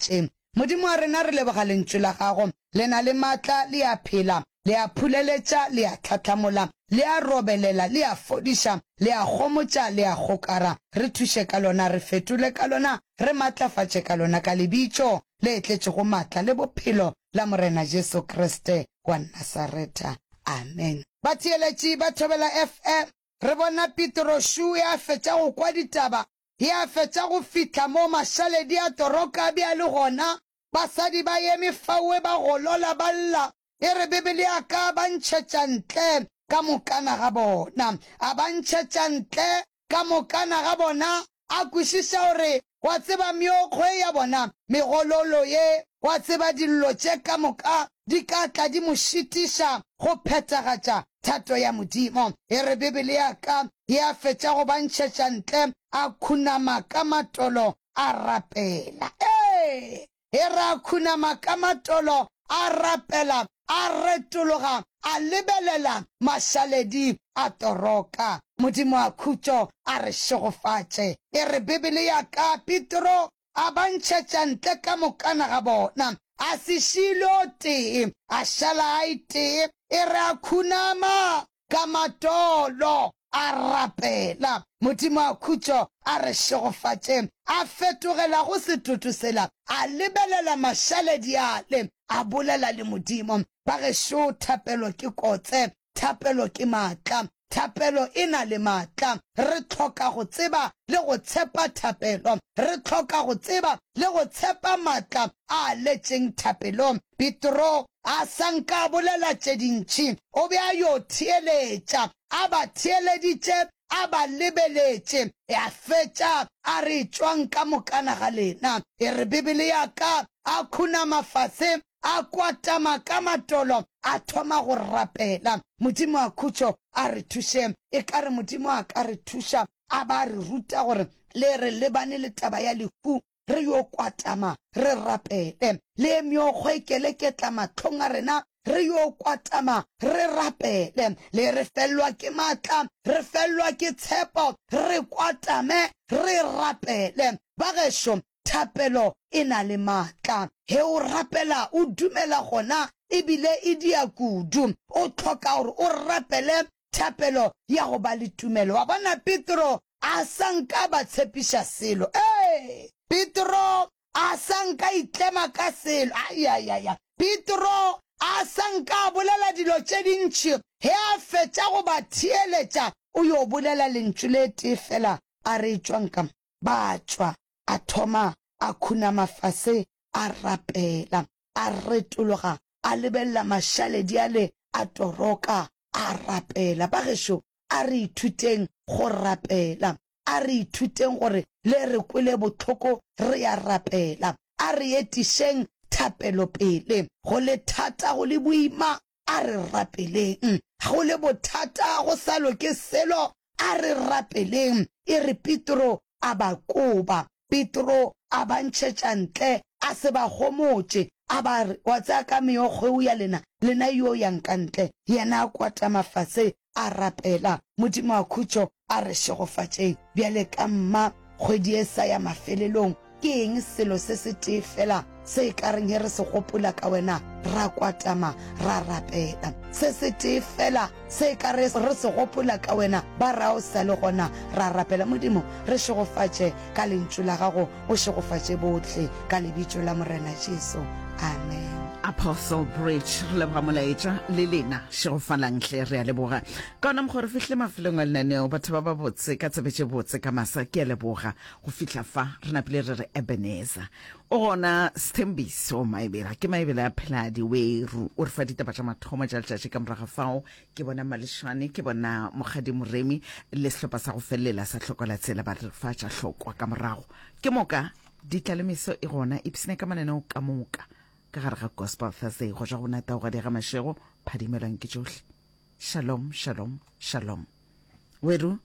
šegofatše. Modimo wa rena, re leboga Lentšu la Gago. Le na le maatla, le a phela, le a phuleletša, le a hlahlamola, le a robelela, le a fodiša, le a homotša, le a gokara. Re thuše ka lona, re fetole ka lona, re matlafatše ka lona, ka Lebitso le tletšego maatla le bophelo la Morena Jesu Kriste wa Nasaretha. Amen. Batheeletši ba Thobela FM, re bona Petro Shu e a fetša go kwa ditaba, e a fetša go fihla mo mašaledi a toroka a be a le gona. Basadi ba eme faoe ba golola ba lla, e re Bibele ya ka ba ntšhetša ntle ka mokana ga bona. A ba ntšhetša ntle ka mokana ga bona, a kwešiša gore wa tseba meokgo ye ya bona, megololo ye, wa tseba dillo tše ka moka di ka tla di mo šitiša go phethagatša thato ya Modimo. E re Bibele ya ka ye a fetša go ba ntšhetša ntle, a khunama ka matolo a rapela. Ee! E re a khunama ka matolo a rapela, a retologa a lebelela mašaledi a toroka. Modimo a khutšo a re šegofatše. E re Bibele ya ka, Petro a ba ntšhetša ntle ka mokana ga bona, a se šie le o tee, a šala a e tee. E re a khunama Ka matolo a rapela. Modimo a khutšo a re šegofatše. A fetogela go setoto sela, a lebelela mašaledi ale, a bolela le Modimo. Bagešo, thapelo ke kotse, thapelo ke maatla, thapelo e na le maatla. Re hloka go tseba le go tshepa thapelo. Re hloka go tseba le go tshepa maatla a letšeng thapelong. Petro a sa nka a bolela tše dintši, o be a yo theeletša, a ba theeleditše, a ba lebeletše, a fetša a re, Tšwang ka mokana ga lena. E re Bibele ya ka, a khunama fase, a kwatama ka matolo, a thoma go rapela. Modimo a khutšo a re thuše. Ekare Modimo a ka re thuša, a ba a re ruta gore le re lebane le taba ya lehu, re yo kwatama re rapele. Le meokgo e keleketla mahlong a rena, re yo kwatama re rapele. Le re fellwa ke matla, re fellwa ke tshepo, re kwatame re rapele. Bagešo, thapelo e na le matla. Ge o rapela o dumela gona e bile e dia kudu. O hloka gore o rapele thapelo ya go ba le tumelo. Wa bona, Petro a sa nka a ba tshepiša selo. Ee, Petro a sa nka itlema ka selo. Aiaiaia! Petro a sa nka a bolela dilo tše dintši. Ge a fetša go ba theeletša, o yo bolela lentšu le tee feela, a re, Etšwang ka mo. Ba tšwa. A thoma a khunama fase a rapela. A retologa a lebelela mašaledi ale a toroka, a rapela. Bagešo, a re ithuteng go rapela. A re ithuteng gore le re kwele bohloko re a rapela. A re etišeng thapelo pele. Go le thata, go le boima, a re rapeleng. Go le bothata, go sa loke selo, a re rapeleng. E re Petro a ba koba. Petro a ba ntšhetša ntle, a se ba homotše, a ba re, Wa tseba ka meokgo eo ya lena, lena yo yang ka ntle. Yena a kwatama fase, a rapela. Modimo wa khutšo a re šegofatšeng. Bjale ka mma kgwedi e sa ya mafelelong, ke eng selo se setee feela se e ka reng ge re se gopola ka wena ra kwatama ra rapela? Se setee feela se e ka re re se gopola ka wena ba ra o sa le gona ra rapela. Modimo, re šegofatše ka Lentšu la Gago, o šegofatše bohle ka Lebitso la Morena Jesu. Amen. Apostle Bridge, re leboga molaetša le lena. Šegofalang hle, re a leboga. Ka ona mokgwa re fihlile mafelong a lenaneo, batho ba babotse, ka tsebe tše botse ka masa, ke a leboga. Go fihla fa, re napile re re Ebenezer. O gona Sthembiso Maebela, ke Maebela a Pheladi Weru, o re fa ditaba tša mathomo tša letšatši ka morago ga fao Ke bona Malešwane, ke bona Mokgadi Moremi le sehlopha sa go felelela sa Hlokola Tsela ba re fa tša hlokwa ka morago. Ke moka ditlalemeso e gona, ipshine ka mananeo ka moka ka gare ga Gospel Thursday go tšwa go bona Taugadi ga Mashego, phadimelwang ke tšohle. Shalom, shalom, shalom. Weru.